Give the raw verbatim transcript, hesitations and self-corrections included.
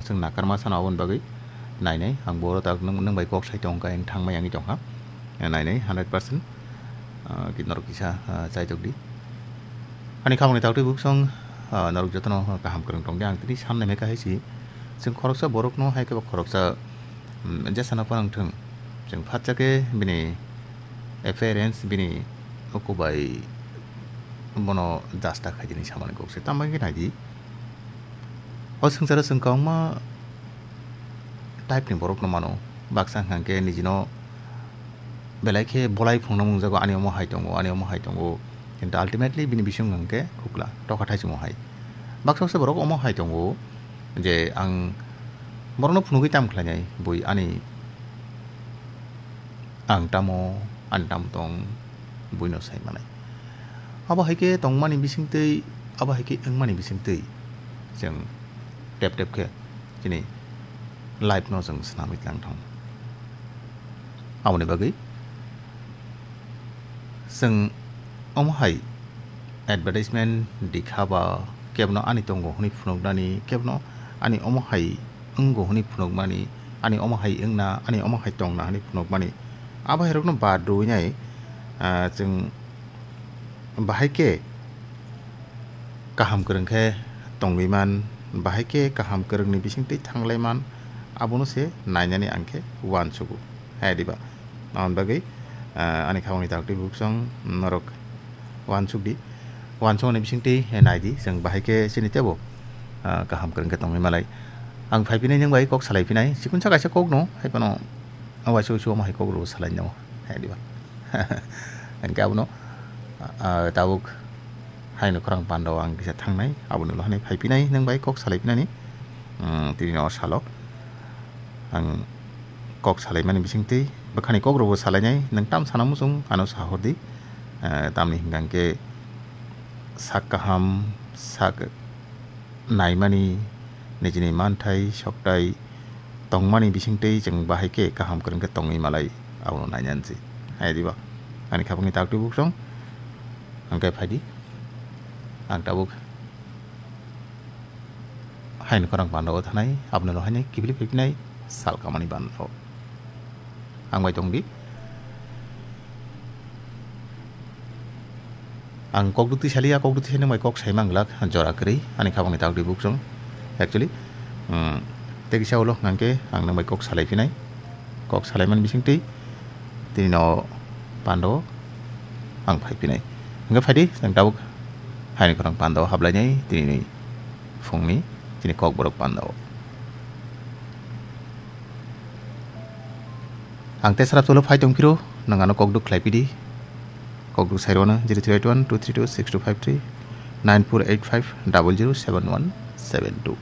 Chwng nakarma sano aboni bagwi nainai, ang bo tak nwng nwng bai kok sai tong kha, ang thangmai wngwi tong kha. Nainai hundred percent, ah, ki norok kisa, ah, chaitok di. Ani khamani taktwi buksong, ah, norok jotono kaham kwrwng tong di, ang tini san naimai kha hai si. Chwng khoroksa borokno hai khe bo khoroksa, mm, jesano phano wng thwng, chwng phatsa khe bini appearance, bini uku bai bono jasta khaidini samani kok se. Tamo khe nai di. O swngcharo chwng kwbangma type ni borok no mano. Baksa hwnkha khe nijino belai khe bolai phungna mungjago, ani omo hai tongo, ani omo hai tongo. Kintu ultimately bini bising hwnkha khe khukla, tokha thaisimo hai. Baksa baksa borok omo hai tongo je ang borokno phunugwi tam khlainai, bui ani ang tamo, ani tamo tong, buino sai manai. Abo hai khe tongmani bisingtwi, abo hai khe wngmani bisingtwi chwng tep tep khe chini life no chwng swnamwi tlang thang. Aboni bagwi chwng omo hai advertisement dikha ba kebono ani tongo hwnwi phunuknani, kebono ani omo hai wngo hwnwi phunukmani, ani omo hai wngna, ani omo hai tongna hwnwi phunukmani. Abo hai rokno bad rwui nai, ah, chwng bahai khe kaham kwrwng khe tongwi man, bahai khe kaham kwrwngni bisingtwi thanglai man, abono se nainani ang khe uansugo. Hai diba? Aboni bagwi, ah, ani khamani taktwi buksong norok uansuk di. Uansukni bisingtwi, eh, nai di, chwng bahai khe chini tebo, ah, kaham kwrwng khe tongwi malai. Ang phai phinai nwng bai kok salai phinai, chikon sa kaisa kok no, hai phano, ah, waisa waisa omo hai kok rw salai no, hai diba? Hwnkhe abono, ah, tabuk haino khorang pando ang kisa thangnai, aboni ulo hani phai phinai nwng bai kok salai phinani, mm, tini no salo. Ang kok salaimani bisingtwi bwkhani kok rokbo salainai, nwng tam sana muchung ano sahor di. Eh, tamni hwnkha hwnkhe sak kaham, sak naimani, nijini manthai, soktai tongmani bisingtwi chwng bahai khe kaham kwrwng khe tongwi malai, abono nainani se. Hai diba? Ani khapangni taktwi buksong, hwnkhe phai di. Ang tabuk haino khorang pando o thanai, aboni ulo haino kibili phai phinai sal kamani bando. Ang bai tong di. Ang kok duk twi sali, a kok duk twi sali nwng bai kok sai mang glak, jora kwrwi, ani khapangni taktwi buksong. Actually, mm, tei kisa ulo hwnkha khe ang nwng bai kok salai phinai. Kok salaimani bisingtwi tini no pando ang phai phinai. Hwnkhe phai di, chwng tabuk haino khorang pando hablainai tini phungni chini kokborok pando. Ang tesra tolo phai tong phiro, nwng ano kok duk khlai pidi. Kok duk sai rwno zero three eight one two three two six two five three, nine four eight five double zero seven one seven two.